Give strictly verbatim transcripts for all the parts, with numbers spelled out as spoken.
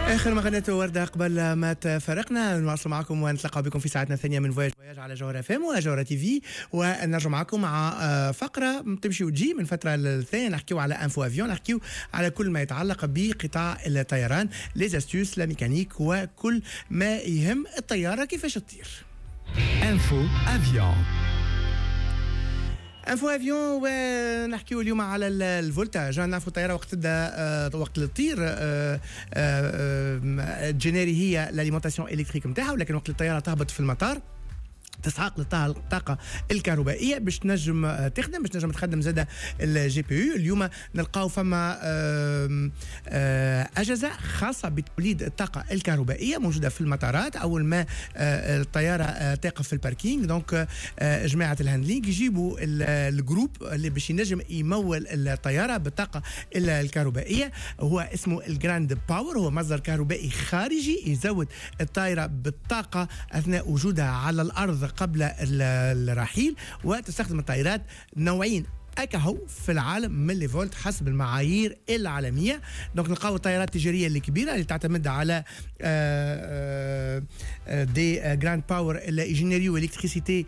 اخر ما غنيته ورده قبل ما تفارقنا. نواصل معكم ونتلقى بكم في ساعتنا الثانية من Voyage Voyage على جوهرة اف ام وجوهرة تي في، ونرجع معكم مع آه، فقره تمشي وتجي من فترة للثانيه. نحكيو على info avion، نحكيو على كل ما يتعلق بقطاع الطيران، les astuces، la mécanique وكل ما يهم الطيارة كيفاش تطير. Info Avion. Info avion، ونحكيو اليوم على ال voltage. نعرفوا الطيارة وقت تبدا، آه، وقت تطير، آه، آه، تجينيري هي l'alimentation électrique نتاعها، ولكن وقت الطيارة تهبط في المطار تسحق الطاقة الكهربائية باش تنجم آه، تخدم، باش تنجم تخدم زادة ال GPU. اليوم نلقاو فما آه، أجهزة خاصة بتوليد الطاقة الكهربائية موجودة في المطارات. أول ما آه، الطيارة تقف في ال parking، donc جماعة ال handling يجيبوا ال groupe اللي باش ينجم يمول الطيارة بالطاقة الكهربائية. هو اسمه ال ground power، هو مصدر كهربائي خارجي يزود الطائرة بالطاقة أثناء وجودها على الأرض قبل الرحيل. وتستخدم الطائرات نوعين اكهو في العالم من les volts حسب المعايير العالميه. donc نلقاو الطائرات التجارية الكبيرة اللي تعتمد على des ground power اللي يجينيريو électricité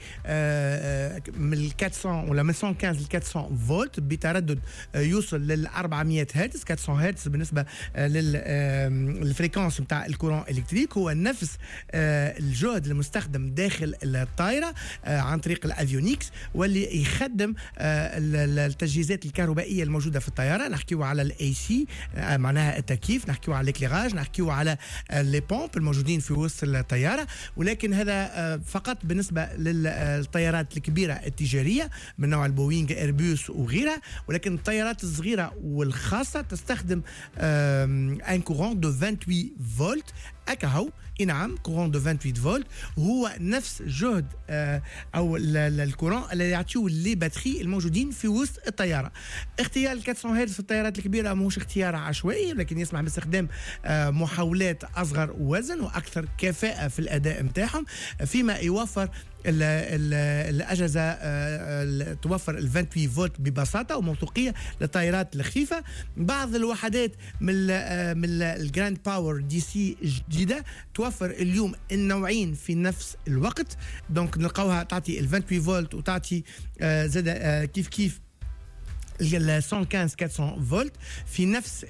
من أربعمية ولا من مية وخمسطاش ل أربعمية فولت بتردد يوصل لل أربعمية هرتز، أربعمية هرتز بالنسبة لل fréquence نتاع ال courant électrique. هو نفس الجهد المستخدم داخل الطائرة عن طريق ال avionics واللي يخدم التجهيزات الكهربائية الموجودة في الطياره. نحكيو على ال AC معناها التكييف، نحكيو على l'éclairage، نحكيو على les pompes الموجودين في وسط الطياره. ولكن هذا آه، فقط بالنسبة للطيارات الكبيرة التجارية من نوع البوينغ، ايربوس وغيرها. ولكن الطيارات الصغيرة والخاصة تستخدم un courant de ثمانية وعشرين فولت اكاهو. نعم، courant de ثمانية وعشرين فولت هو نفس جهد آه، او ال courant اللي يعطيو les batteries الموجودين في وسط الطياره. اختيار أربعمية هرتز في الطيارات الكبيرة ماهوش اختيار عشوائي، ولكن يسمح باستخدام آه، محولات اصغر وزن واكثر كفاءة في الاداء نتاعهم، فيما يوفر ال ال الاجهزة آه، توفر ال ثمانية وعشرين فولت ببساطة وموثوقيه للطائرات الخفيفه. بعض الوحدات من ال من ال ground power DC جديدة توفر اليوم النوعين في نفس الوقت، donc نلقاوها تعطي ال ثمانية وعشرين فولت وتعطي آه، زاد آه، كيف كيف ال مية وخمسطاش أربعمية فولت في نفس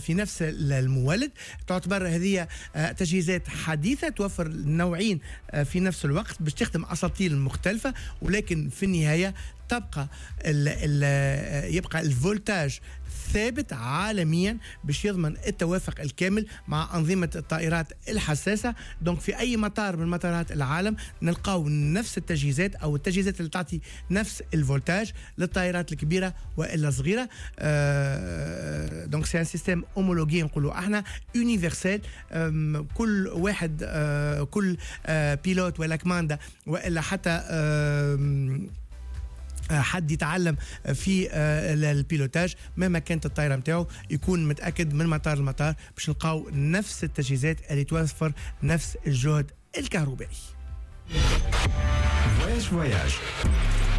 في نفس المولد. تعتبر هذه آه، تجهيزات حديثه توفر النوعين آه، في نفس الوقت باش تخدم اساطيل مختلفه، ولكن في النهاية تبقى ال ال يبقى ال voltage ثابت عالميا باش يضمن التوافق الكامل مع أنظمة الطائرات الحساسة. donc في أي مطار من مطارات العالم نلقاو نفس التجهيزات أو التجهيزات اللي تعطي نفس ال voltage للطائرات الكبيرة والا الصغيرة. آه donc c'est un système homologué، نقولوا احنا universel. كل واحد، آه كل آه pilote ولا commandant والا حتى آه حد يتعلم في آه، ال pilotage، مهما كانت الطائرة نتاعو، يكون متاكد من مطار لمطار باش نلقاو نفس التجهيزات اللي توفر نفس الجهد الكهربائي. Voyage Voyage.